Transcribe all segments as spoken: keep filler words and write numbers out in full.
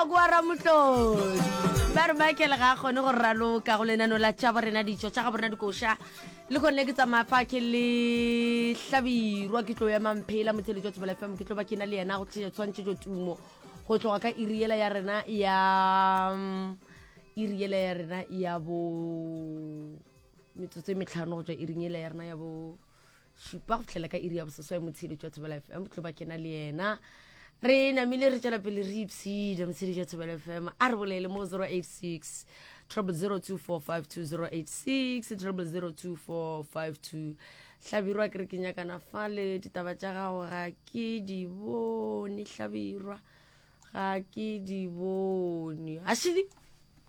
Ngwako wa Ramotlodi. Ba re Michael ga a kgone go raloka go lenano la tša borena ditšo tša ga borena dikoša. Le kgonne ke tsamaya fa ke le Hlabirwa ke tlo ema Mphela motheletši wa Thobela F M ke tlo ba ke na le yena go tliša tshwantšhetšo tumo go tloga ka iri yela ya rena ya mm, iri yela ya rena ya bo metsotso e metlhano go tšwa iring yela ya rena ya bo šupa go fihlela ka iri ya boseswai motheletši wa Thobela F M tlo ba kena le yena re namile re tšwela pele re ipshina motheletši wa Thobela F M a re bolele mo zero eight six triple zero two four five two, zero eight six triple zero two four five two. Hlabirwa ke re ke nyakana fale ditaba tša gago ga ke di bone. Hlabirwa ga ke di bone ašidi.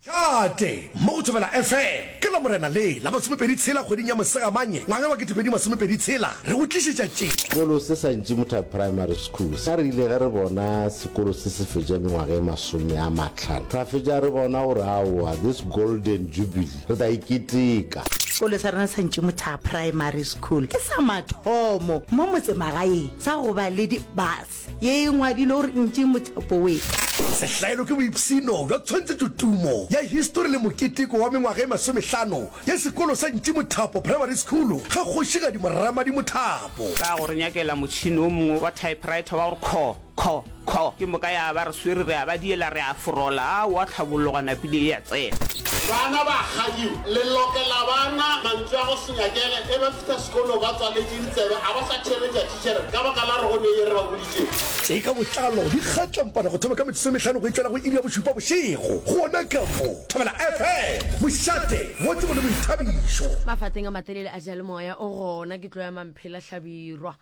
Tate mo go Thobela F M ke Lamorena le la masomepedi tshela kgweding ya Mosegamanye ngwaga wa ketepedi masomepedi tshela re go tlišetša tše. Sekolo se sa Ntšimotha Primary School sa re ile ge re bona sekolo se se fetša mengwaga e masome a mahlano ra fetša re bona gore aowa, this golden jubilee re tla iketeka. Sekolo sa rena sa Ntšimotha Primary School ke sa mathomo mo motsemagaeng sa go ba le di-bus ye e ngwadile gore Ntšimothapo we. Sehlaelo ke boipshino bja tshwantšhetšo tumo ya histori le moketeko wa mengwaga e masomehlano ya sekolo sa Ntšimothapo Primary School ga Kgošigadi Moramadi Mothapo. Ka go re nyakela motšhene o mongwe wa typewriter wa gore kho, kho, kho. Ke moka ya ba re swere re a ba diela re a forola. Aowa, tlhabollo gona pele e a tsena. Bana ba kgadiwa. Le lokela bana mantšu a go se nyakege ge ba fihla sekolong ba tswaletše ditsebe a ba sa theeletša thitšhere ka baka la gore go ne ye re ba boditšego. Tše ka botlalo di kgatlampana go thoma ka metsotso e mehlano go itšwela go iri ya bošupa bošego gona ka mo Thobela F M, mošate wa tsebo le boithabišo. Mafateng a matelele a diyalemoya o gona ke tlo ya Mamphela Hlabirwa.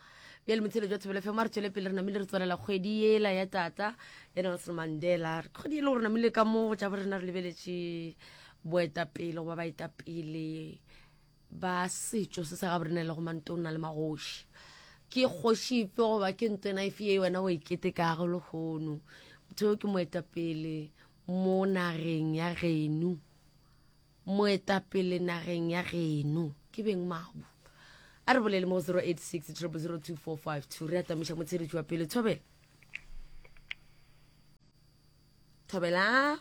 Bjale motheletši wa Thobela F M a re tšwele pele re namile re tswalela kgwedi yela ya tata ya Nelson Mandela. Kgwedi e le gore namile ka mo go tša borena re lebeletše boetapele goba baetapele ba setšo se sa ga borena le go mantona le magoši. Ke kgoši efe goba ke ntwena efe ye wena o e ketekago lehono? Motho yo ke moetapele mo nageng ya geno. Moetapele nageng ya geno ke beng mabu. A re bolele mo zero eight six zero zero two four five two. Re atamiša motheletši wa pele. Thobela. Thobela.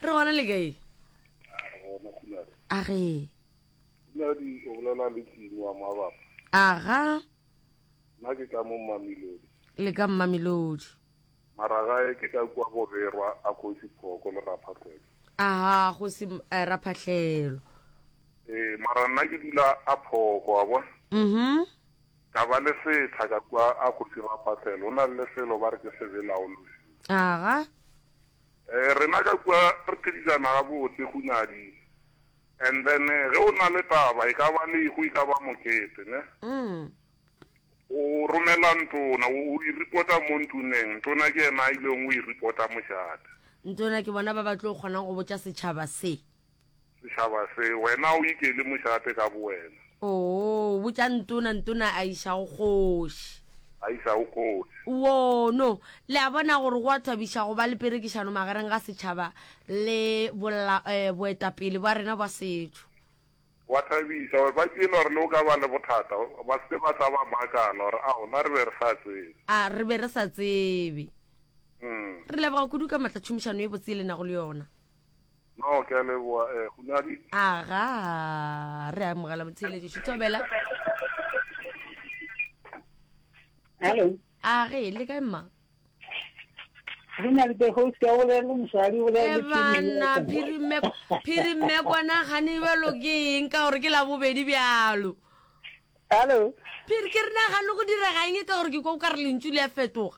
Re gona le kae? A ge. Nadi o bolela le Timo wa Mabapa. Aga. Nna ke ka mo Mamelodi. Le ka Mamelodi. Mara gae ke ka kua Boberwa a Kgosi Phoko le Raphahlelo. Aha, Kgosi eh, Raphahlelo. Ee, mara nna ke dula a Phoko wa bona. Mhm. Ka ba le setsha ka kua a Kgosi Raphahlelo. O na le lefelo ba re ke Sebelaolosi. Aga. Eh, rena ka kua re phedisana gabotse Hunadi. And then ge o na le taba e ka ba lehu e ka ba mokete ne. Mm. O romela ntona o e reporta mo ntuneng ntona ke yena a ileng o e reporta mošate. Ntona ke bona ba ba tlo kgonang go botša setšhaba se. Setšhaba se wena o ikele mošate ka bo wena. Oo, botša ntona ntona a iša go kgoši. A iša go kgoši. Wo no le a bona gore go a thabiša go ba le perekišano magareng ga setšhaba le bolla eh, boetapele bwa rena bwa setšo. Wa thabiša gore ba tšele gore le o ka ba le bothata ba se ba tla ba makala gore ao na re be re sa tsebe. A re be re sa tsebe. Mm. Re leboga kudu ka matla tšhomišano e botse e le nago le yona. No ke a leboga eh Hunadi. Aga re amogela motheeletši. Thobela. Hello. A ge le kae mma? Re na le the host ya bolela le mosadi o bolela E le bana phirimme phirimme kwana gane bjalo ke eng ka gore ke la bobedi bjalo. Hello. Phiri ke re nagane go direga eng ka gore ke kwa o ka re lentšu le a fetoga.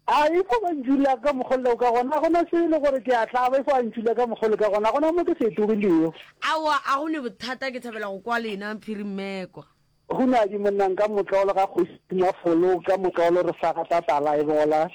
A e fo ba ntšula ka mokgolo ka gona gona se le gore ke a tlaba e fo a ntšula ka mokgolo ka gona gona mo ke fetogilego. Aowa a go ne bothata ke thabela go kwa lena phirimmekwa. Hunadi monnang ka motlolo ga kgoši Mafolo ka motlolo re sa gata tala e bola.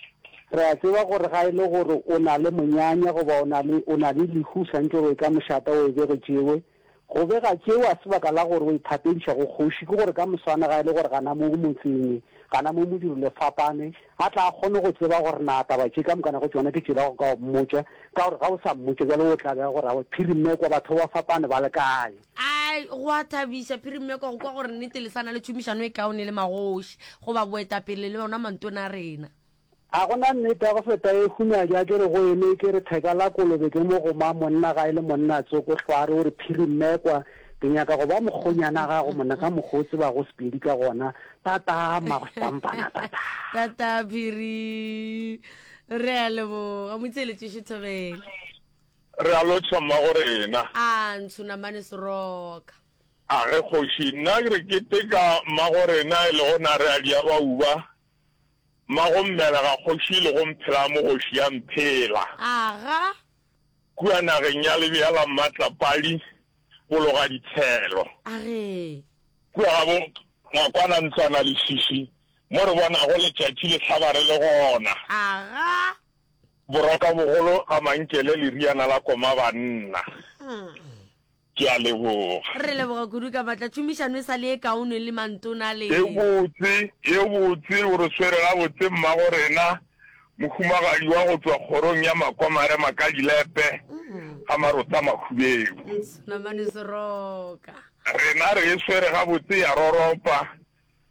Re a tseba gore ga e le gore o na le monyanya goba o na le o na le lehu santše o e ka mošata o e bege tšewe. Go bega tšeo a sebaka la gore o ithapediša go kgoši ke gore ka moswane ga e le gore gana mo motseng gana mo modiro le fapane a tla kgone go tseba gore na taba tše ka mokana go tšona ke tšela go ka mmotša ka gore ga o sa mmotša bjalo o tla bega gore aowa phirimmekwa batho ba fapane ba le kae. Ai, go a thabiša phirimmekwa go kwa gore nnete le sa na le tšhomišano e kaone le magoši goba boetapele le ona mantona a rena. A gona nnete ya go feta e hunyadi a ke re go eme ke re theka la kolobe ke mo goma monna ga e le monna tsoko hlware o re phiri mmekwa ke nyaka go ba mokgonyana gago monna ka mokgwa o tsebago Sepedi ka gona tata mmago-stampana tata. Tata phiri re a leboga motheeletši Thobela. Re a lotšha mmago rena. A ntsho namane seroka. A ge kgoši nna ke re keteka mmago rena e lego Nareadi ya Bauba. Mmago mmelega kgoši le go mphela mogoši ya mphela. Aga. Kua nageng ya lebea la Mmatlapadi bologa ditshelo. Age. Kua ga bo Ngwakwana ntlwana lešiši mo re bonago letšatši le hlaba re le gona. Aga. Boroka bogolo ga Mankele leriana la koma banna. Ke a leboga. Re leboga kudu ka matla. Tšhomišano e sa le e kaone le mantona le. E botse, e botse, o re swere gabotse mmago rena, mohumagadi wa go tšwa kgorong ya Makomare Makadilepe, ga Marota Makhubeu. Namane Seroka. Rena re e swere gabotse ya roropa,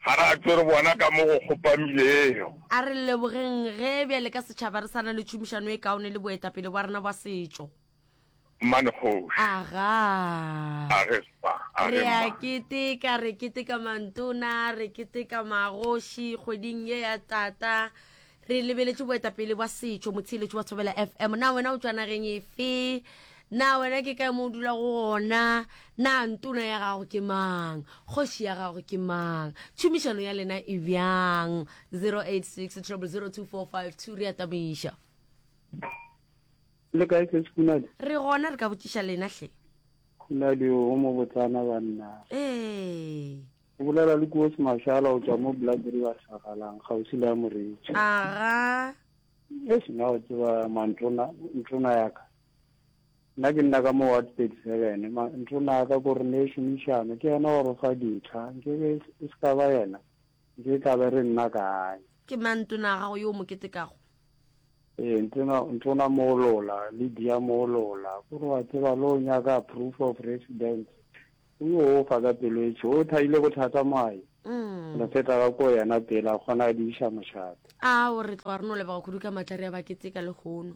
ga ra tšwe re bona ka mo go kgopamilego. A re lebogeng ge bjale ka setšhaba re sa na le tšhomišano e kaone le boetapele bwa rena bwa setšo. Mmane kgoši. Aga. Age spa, age Re a mma. keteka, re keteka mantona, re keteka magoši kgweding ye ya tata. Re lebeletše boetapele bwa setšo, motheeletši wa Thobela F M. Na wena o tšwa nageng efe? Na wena ke kae mo o dulago gona? Na ntona ya gago ke mang? Kgoši ya gago ke mang? Tšhomišano ya lena e bjang? zero eight six triple zero two four five two re a tamiša. Le kae se Khunadi? Re gona, re ka botšiša lena hle. Khunadi o mo botsana banna. Ee. O bolela le Koos Mashala o tšwa mo Black River Sagalang kgauswi le ya Moretši. Aga. Eish, nna o tseba mantona, ntona ya ka. Nna ke nna ka mo ward thirty-seven, ma, ntona ya ka ko re ne šomišano, ke yena wa re fa ditlha, nke be e se ka ba yena, nke tla be re nna kae. Ke mang ntona ya gago yo o mo ketekago? Ee, ntona, ntona Moolola, Lydia Moolola, ko re wa tseba le o nyaka proof of residence, o yo o fa ka pelo e tšho, o thaile bothata moae. Mm. Re feta ka ko yena pele a kgona a di iša mošate. Ao, re tloga re no leboga kudu ka matla, re a ba keteka lehono.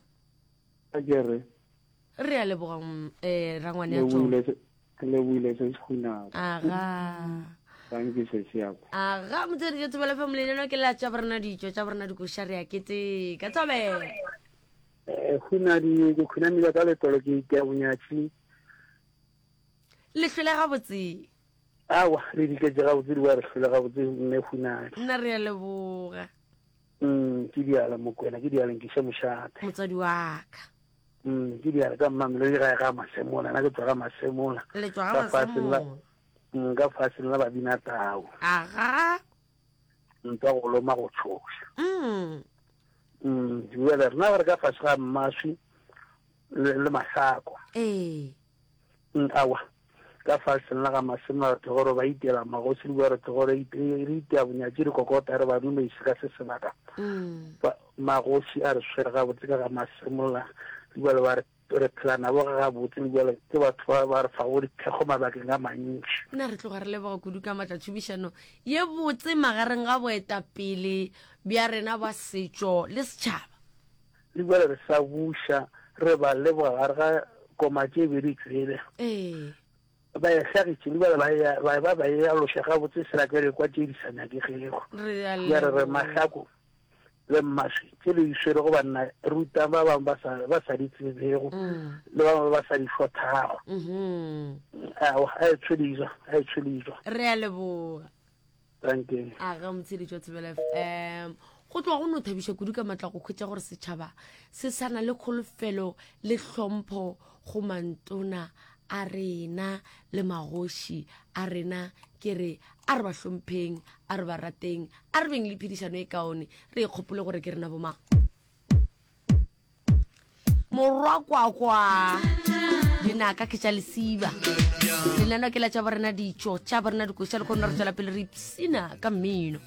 A ke re. Re a leboga, mm, eh, rangwane ya Le tšona. buile se, le buile se se khunago. Aga. Thank you, sesi ya ka. Aga, motswedi jwa Thobela F M, lenaneo ke la tša borena ditšo, tša borena dikoša, re a keteka. Thobela. Eh, Khunadi, ke khunamile ka letolo, ke itea bonyatši. Le hlwele gabotse. Aowa, re diketše gabotse, di wa re hlwele gabotse, mme Khunadi. Nna re a leboga. Mm, ke diala Mokwena, ke diala nkiše mošate. Motswadi wa ka. Mm, ke diala ka Mmamelodi gae ga Masemola, nna ke tswa ga Masemola. Le tswa ga Ka faseng la Masemola. Mm, ka faseng la babina tau. Aga. Ntwa go loma go tshoša. Mm. Mm, bjale rena re ka fase ga mmaswi le, le mahlako. Ee. Mm, awa. Ka faseng la ga Masemola re tlogoro ba itela magosi le bua re tlogoro ite-, re itea bonyatši re kokota re ba dumeise ka se sebaka. Mm. Ba, magosi a re swere gabotse ka ga Masemola, le bua le ba re, re phela nabo ga gabotse, le bua le ke batho ba ba re fago dithekgo mabakeng a mantši. Nna re tloga re leboga kudu ka matla tšhomišano ye botse magareng ga boetapele bja rena ba setšo le setšhaba. Le bua le re sa buša, re ba leboga gare ga koma tše bedi tsele. Ee. Ba e hlagitše, le bjale ba e, ba, ba, ba e aloša gabotse sela ke re kwa tše di sa nyakegego. Re a Bjale re leboga. mahlako le mmaswi tše le di swerego banna, ruta ba bangwe ba sa, ba sa di tsebego, Mm. le ba bangwe ba sa di hlothago. Mm-hmm. Aowa, a e tshwelejwa, a e tshwelejwa. Re a leboga. Thank you. A ga motsheletši wa Thobela F M. Go tloga go no thabiša kudu ka matla go hwetša gore setšhaba se sa na le kholofelo le hlompho go mantona a rena le magoši a rena. Ke re a re ba hlompheng, a re ba rateng, a re beng le phedišano e kaone, re ikgopole gore ke rena bomang. Morwa kwakwa dinaka ke tša lesiba, lenaneo ke la tša borena ditšo, tša borena dikoša, le kgone re tswela pele re ipsina ka mmino.